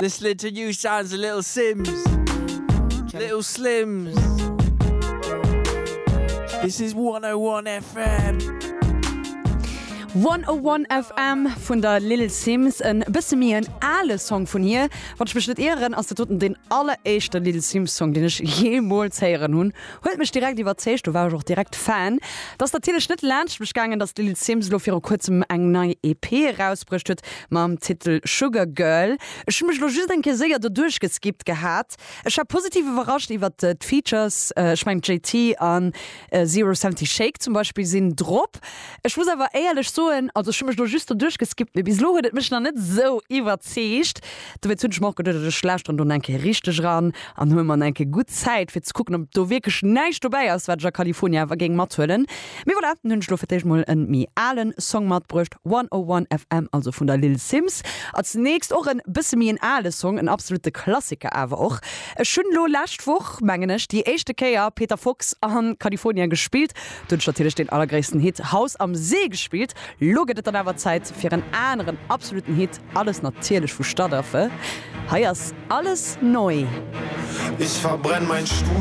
Listening to new sounds of Little Simz. Little Slims. This is 101 FM. 101 FM vun der Little Simz, en bësse méi en ale Song vun hir. Wann ech mech net ieren, ass dat doten deen alleréischte Little Simz Song, deen ech jeemools héieren hunn. Huet mech direkt iwwerzeegt, do war ech och direkt Fan. Et ass natierlech net laanscht mech gaangen, dass d'Lil Simz elo viru kuerzem eng nei EP erausbruecht huet mam Titel Sugar Girl. Ech hu mech elo just eng Kéier séier doduerch geskippt gehat. Ech war positiv iwwerrascht iwwert d'Features, ech mengen JT an Zero 70 Shake zum Beispill sinn drop. Ech muss awer éierlech soen, also ech hu mech elo just doduerch geskippt, mee bis elo huet et mech nach net esou iwwerzeegt. Dowéinst hunn ech mer och geduet, ech lauschteren do eng Kéier richteg eran an huele mer eng Kéier gutt Zäit fir ze kucken, ob do wierklech näischt dobäi ass, wat ech a Kalifornia awer géing mathuelen. Mee voilà, dann hunn ech elo fir d'éischt mol en méi alen Song matbruecht, 101 FM, also vun der Lil Simz. Als nächst och en bësse méi en ale Song, en absolute Klassiker awer och. Ech hunn elo lescht Woch, mengen ech, déi éischte Kéier Peter Fox an Kalifornia gespillt. Do hunn ech natierlech deen allergréissten Hit Haus am See gespillt. Lo gëtt et dann awer Zäit fir en aneren absoluten Hit, alles natierlech vu Stadtaffe. Hei ass Alles neu. Ich verbrenn mein Studio.